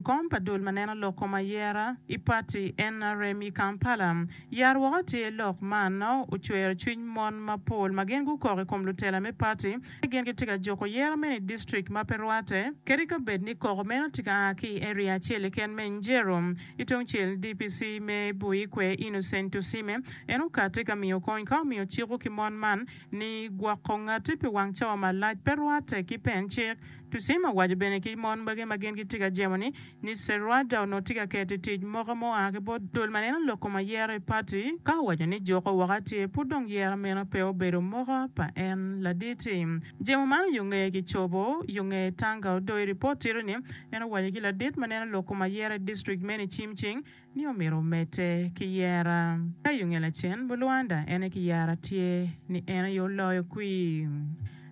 Kom pa dul ma neno lok kom ayera i pati nrm i Kampala yar woko tye lok man ocwero cwiny mon mapol ma gin gukok i kom lutela me pati ni gin gitye ka juko yera meno i distrik ma pe rwate kadi ka bed ni koko meno tye ka a ki i area acel keken me Njeru. I tung cel DPC me Buikwe Innocent Tusime en okati ka miyo kony ka omiyo ciko ki mon man ni gwoko ngati pi wang cawa malac pe rwate ki pen cik. Tusime owaco bene ki mon magi ma gin gitye ka jemo-ni ni Serwada onongo tye ka keto i tic moko ma oa ki bot dul ma neno lok kom ayero i pati, ka owaco ni juko woko atye pud dong yero meno pe obedo moka pa en ladit-ti. Jemo man yo ngeye kicobo yo nge Tanga Odoi ripot tito ni en owaco ki ladit ma neno lok kom ayero i distrik meno i cim cing ni omyero omedde ki yera. Ka i nge lacen, Mulwanda en aye ki yara tye ni en aye oloyo kwir.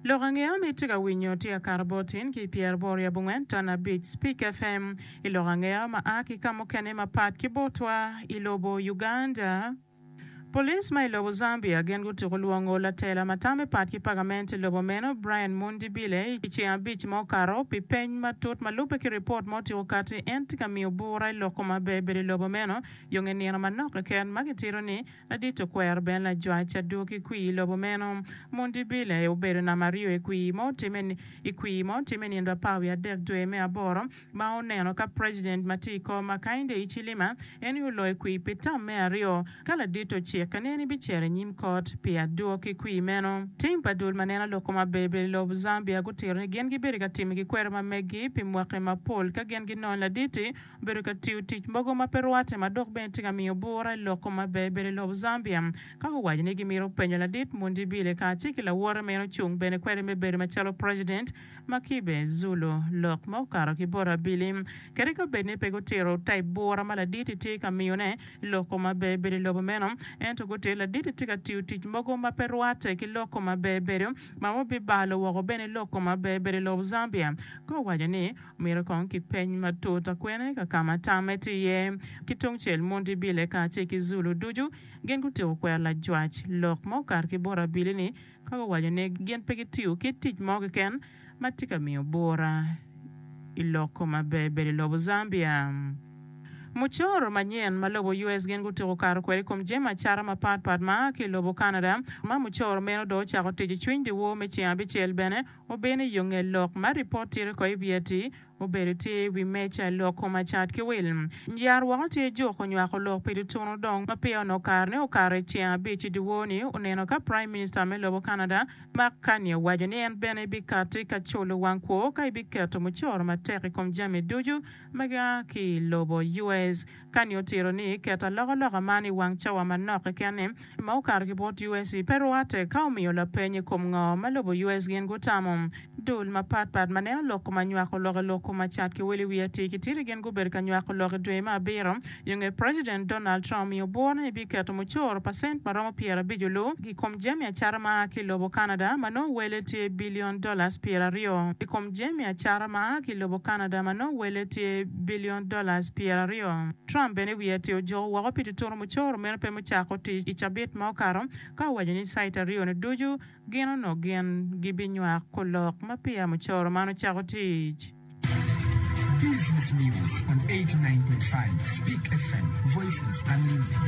Lok angeya ma itye ka winyo tye ka kato bot in ki i pyeraboro i abongwen ton abic Speak FM. I lok angeya ma a ki ka mukene mapat ki botwa i lobo Uganda, Police ma i lobo Zambia gin gutuko lwongo latela ma tamme pat ki pagament i lobo meno Brian Mundibile i ceng abic ma okato pi peny matut ma lubbe ki ripot ma otyeko kati en tye ka miyo bura i lok kom aber bedo i lobo meno yo nge nino manok keken ma kitito ni ladit okwero bene lajwac adwogi kwir i lobo meno. Mundibile obedo namba aryo i kwir ma otime i kwir ma otime nino apar wiye adek dwe me aboro ma oneno ka President ma tye i kom Hakainde Hichilema en aye oloyo kwir pi tam me aryo ka ladit ocikke ni en ebicito i nyim kot pi adwoki kwir meno. Tim pa dul ma neno lok kom aber bedo i lobo Zambia gutito ni gin gibedo ka timo ki kwero ma meggi pi mwaki mapol ka gin ginongo ladit-ti obedo ka tiyo tic mogo ma pe rwatte ma dok bene tye ka miyo bura i lok kom aber bedo i lobo Zambia ka guwaco ni gimito penyo ladit Mundibile kacel ki lawote ma en ocung bene kwede me bedo macalo President ma kibe Zulu lok ma okato ki bot abili. Kadi ka bed ni pe gutito type bura ma ladit-ti tye ka miyone i lok kom aber bedo i lobo meno, ento gutito ladit-ti tye ka tiyo tic mogo ma pe rwatte ki lok kom aber bedo ma wabibalo woko bene lok kom aber bedo i lobo Zambia. Ka owaco ni myero kong kipeny matut akwene ka ka ma tamme tye iye. Ki tungcel, Mundibile kacel ki Zulu ducu gin gutyeko kwero lajwac lok ma okato ki bot abili ni ka guwaco ni gin pe gitiyo kit tic mo keken ma tye ka miyo bura i loko maber bedo i lobo Zambia. Mucoro manyen ma lobo US gin gutyeko kato kwede i kom jami acata mapat pat ma a ki i lobo Canada ma mucoro meno dong ocako tic i cwiny dyewor me ceng abicel bene obino i yo nge lok ma ripot tito ko i wiye ati Obedo tye i wi meja i lok kom acat ki wil. Yar woko tye juko nywako lok pi tutunu dong ma peya onongo kare ne okato i ceng abic i dyewor ni oneno ka Prime Minister me lobo Canada Mark Carney owaco ni en bene ebikati ka culo wang kwo ka ebiketo mucoro matek i kom jami ducu ma gia ki i lobo US. Carney otito ni keto alokaloka man i wang cawa manok keken ni ma okato ki bot US pe rwate ka omiyo lapeny i kom ngo ma lobo US gin gutamo. Dul mapat pat ma neno lok kom anywako lok i lok kom acat ki wel i wi atir ki titi gin gubedo ka nywako lok i dwe me abiro yo nge President Donald Trump omiyo bworo ni ebiketo mucoro pacent ma romo 50 olu i kom jami acata ma a ki i lobo Canada ma nongo wele tye billion dollars 20. I kom jami acata ma a ki i lobo Canada ma nongo wele tye billion dollars 20. Trump bene wiye atir ojuko woko pi tutunu mucoro meno pe mucako tic i cabit ma okato ka owaco ni cite aryo-ni ducu Gin onongo gin gibinywako lok ma peya mucoro man ocako tic. Business News on 89.5 Speak FM, Voices Unlimited.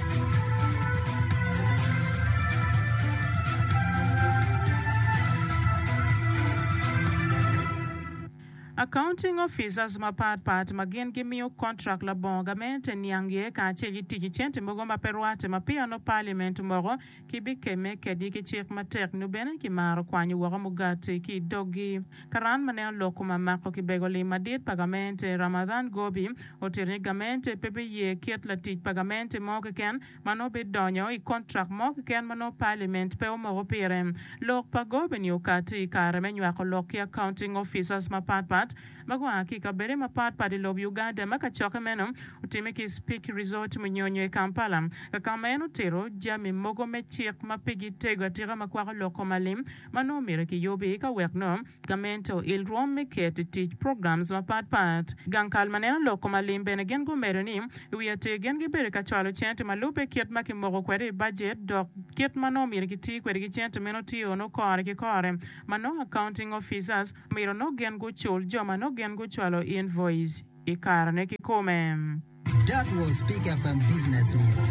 Accounting Officers mapat pat ma gin gimiyo kontrak labongo gamente niang iye kacel ki tic ki cente mogo ma pe rwate ma peya nongo Parliament omoko Kibikemme kedgi ki cik matek nyo bene kimaro kwanyo woko mugati ki i doggi. Karan ma neno lok kom amako kibego lim madit pa gamente, Ramadhan Gobi, otito ni gamente pe biye kit latic pa gamente mo keken ma nongo bidonyo i kontrak mo keken ma nongo paliment pe omoko pire. Lok pa Gobi-ni okati i kare me nywako lok ki accounting officers mapat pat ma gua ki i kabede mapat pat i lob Uganda ma kacokke meno otimme ki i Speke Resort Munyonyo i Kampala ka ka ma en otito jami mogo me cik ma pigi tego atika ma kwako lok kom alim ma nongo myero kiyubi ka wek nongo gamente oil rwom me keto i tic programs mapat pat. Gang kal ma neno lok kom alim bene gin gumedo ni i wi atir gin gibedo ka cwalo cente ma lubbe kit ma kimoko kwede i bajet dok kit ma nongo myero kiti kwede ki cente meno tye onongo kore ki kore ma nongo accounting officers myero nongo gin gucul jo ma nongo gin gucwalo invoice. i karene kikome. That was Speak FM Business News.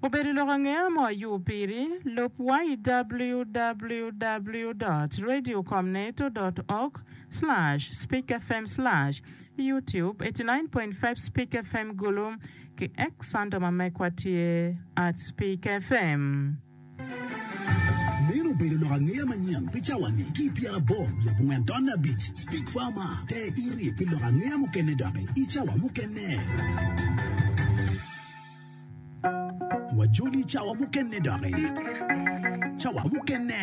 Obedo lok angeya mo ayub piri, lub wa i www dot radiocomneto dot org slash speakfm slash youtube 89.5 Speak FM Gulu ki X handle ma mekwa tye at Speak FM. Meno obedo lok angeya manyen pi cawa-ni ki i pyeraboro wiye abongwen tonne abic. Speak Farmer, Ter iti pi lok angeya mukene doki i cawa mukene. Wajoli i cawa mukene doki. Cawa mukene.